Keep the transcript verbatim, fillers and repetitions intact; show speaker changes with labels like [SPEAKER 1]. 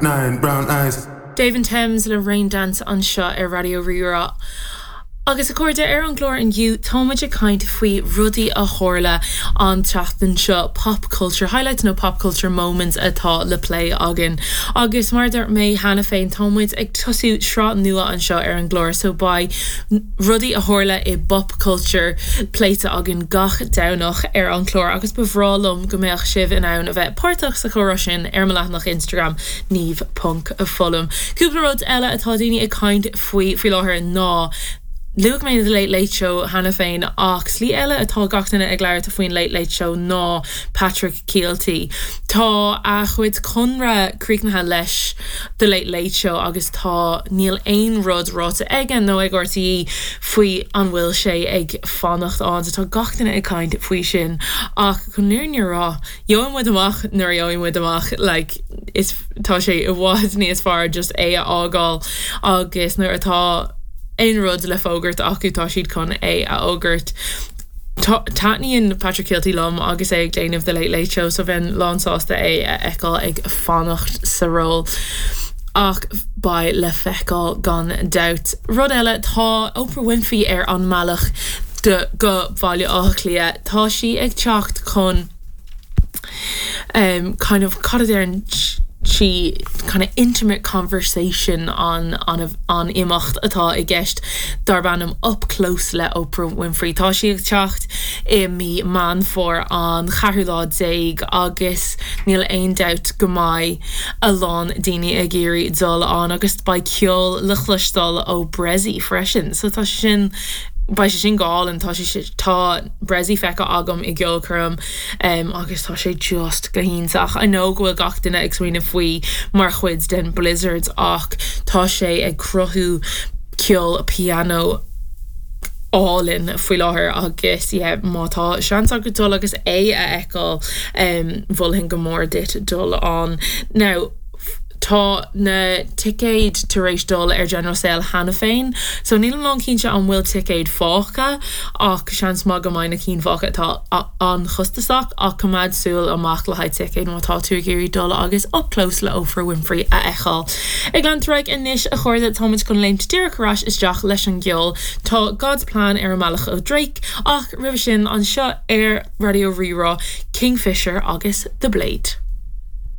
[SPEAKER 1] Nine brown eyes.
[SPEAKER 2] Dave Thames le Rain Dance anseo ar Raidió Rí-Rá. Agus a chairde ar an gclár inniu táimid ag caint faoi rudaí a tharla an tseachtain seo pop culture highlights nó pop culture moments atá le plé againn. Agus mar dúirt mé cheana féin táimid ag tosú sraith nua anseo ar an gclár so beidh rudaí a tharla i bpop culture pléite againn gach Domhnach ar an chlár agus ba bhreá liom go mbeadh sibh in ann a bheith páirteach sa chomhrá sin ar mo leathanach Instagram Niamh ponc Foghlaim. Cúpla rud eile atá daoine ag caint faoi faoi láthair ná Luaigh mé the Late Late Show cheana féin ach slí eile atá gach duine ag labhairt faoin Late Late Show ná Patrick Kielty. Tá a chuid conradh críochnaithe leis The Late Late Show agus tá níl aon rud ráite aige nó ag RTÉ faoi an bhfuil sé ag fanacht ann tá gach duine ag caint faoi sin ach chun an fhírinne a rá gheobhaidh muid amach nuair a gheobhaidh muid amach like, is tá sé i bhfad níos fearr just é a fhágáil agus nuair atá aon rud le fógairt acu tá siad chun é a fhógairt. Taitníonn Patrick Kielty liom agus é ag déanamh the Late Late Show so bheinn lánsásta é a fheiceáil ag fanacht sa ról. Ach beidh le feiceáil gan dabht. Rud eile tá Oprah Winfrey ar an mbealach go Baile Átha Cliath Tá sí ag teacht chun um, kind of cad a deireann sí kind of intimate conversation an an an imeacht atá i gceist darb ainm up close le Oprah Winfrey. Tá sí ag teacht i mí Meán Fómhair an ceathrú lá déag agus níl aon dabht go mbeidh a lán daoine ag iarraidh dul ann agus beidh ceol le cloisteáil ó Bressie freisin, so tá sin Beidh sé sin go hálainn tá sé tá Bressie feicthe agam i gceolchoirm um, agus tá sé just go hiontach. I know go bhfuil gach duine ag smaoineamh faoi mar chuid den Blizzards ach tá sé ag cruthú ceol piano álainn faoi láthair agus yeah, má tá seans agat dul agus é a fheiceáil um, mholfainn go mór duit dul ann. Now, tá na ticéid tar éis dul ar general sale cheana féin, so níl mé cinnte an bhfuil ticéid fágtha ach seans maith go mbeidh na cinn fágtha atá an-chostasach ach coimeád súil amach le haghaidh ticéid má tá tú ag iarraidh dul agus up close le Oprah Winfrey a fheiceáil. Ag leanúint ar aghaidh anois a chairde táimid chun léimt díreach ar ais isteach leis an gceol Tá God's Plan ar an mbealach ó Drake ach roimhe sin anseo ar Raidió Rí-Rá Kingfisher agus The Blade.